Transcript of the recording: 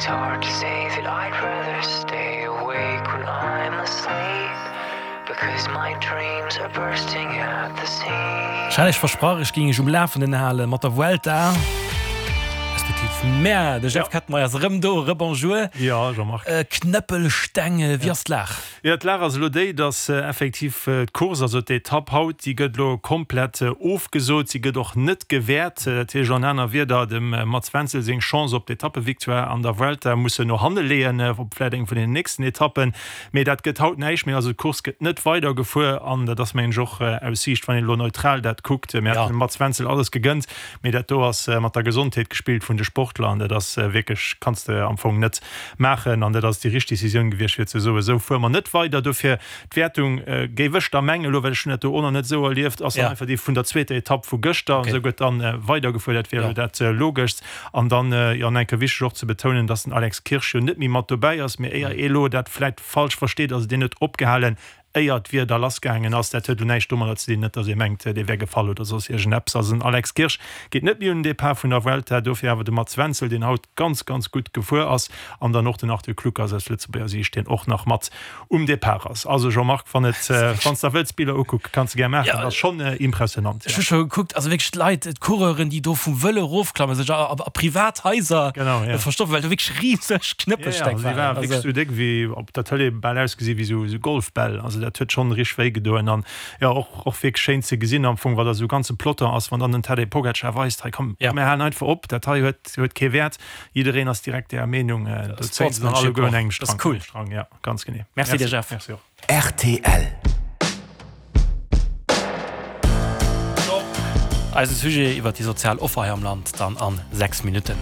It's hard to say that I'd rather stay awake when I'm asleep Because my dreams are bursting at the seams. Ech hat iech versprach, ech géing iech um Lafenden hale mat der Vuelta, respektiv mär. De Jeff Kettenmeyer ass erëm do. Rebonjour. Jo, Jean-Marc. Knëppelsteng, wéi ass d'Lag? Jo, d'Lag ass elo déi, dass effektiv d'Course, also d'Etapp haut, déi gëtt elo komplett ofgesot. Si gëtt och net gewäert. Dat heescht an aner Wierder, dem Mats Wenzel seng Chance op d'Etappevictoire an der Vuelta muss en no hanne leeën, op vläicht eng vun den nächsten Etappen. Mee dat gëtt haut näischt méi. Also d'Course gëtt net weidergefuer an dat ass, mengen ech, och aus Siicht, wann een elo neutral dat kuckt, mir hätten dem Mats Wenzel alles gegënnt, mee dat do ass mat der Gesondheet gespillt vun de Sportler an dat ass wierklech, kanns de am Fong net maachen an dat ass déi richteg Decisioun gewiescht fir ze soen, esou fuere mer net weider. Dofir d'Wäertung, géif ech da mengen elo, well ech hunn dat do och nach net esou erlieft, ass dann einfach déi vun der zweeter Etapp vu gëschter an esou gëtt dann weidergefuer. Dat wier elo dat Logeschst. An dann, jo, nach eng Kéier wichteg och ze betounen, dass den Alex Kirsch jo net méi mat dobäi ass, mee éier ee elo dat vläit falsch versteet, ass deen huet opgehalen, éier d'Wieder lassgaangen ass. Dat huet elo näischt domadder ze dinn, net dass ee mengt, dee wär gefall oder soss iergendeppes. Also den Alex Kirsch geet net méi un den Depart vun der Vuelta, dofir awer de Mats Wenzel, deen haut ganz, ganz gutt gefuer ass, an dann och den Arthur Kluckers aus Lëtzebuerger Siicht, deen och nach mat um Depart ass. Also Jean-Marc, wann et, wann s der wëlls Biller ukucke, kanns de gär maachen, ass schonn impressionant. Ech hu scho gekuckt, also wierklech d'Leit, d'Coureuren, déi do vum Vëlo erofklammen, sech a privat Haiser verstoppen, well do wierklech riseg Knëppelsteng waren. Jo, jo, déi ware wierklech esou déck wéi op der Tëlee bal ausgesi wéi esou Golfbäll. Also dat huet schonn richteg wéi gedoen an jo, och och wierklech schéin ze gesinn am Fong, wat a sou ganze Peloton ass, wann dann den Tadej Pogacar weist, hei komm, mir halen einfach op, dat hei huet huet kee Wäert. Jiddereen ass direkt där Meenung, do zéien se dann alleguer un engem Strang. Cool. Strang, ja, ganz genee. Merci dir, Jeff. Merci och. Rtl. Eise Sujet iwwer déi sozial Offer hei am Land dann an 6 Minutten.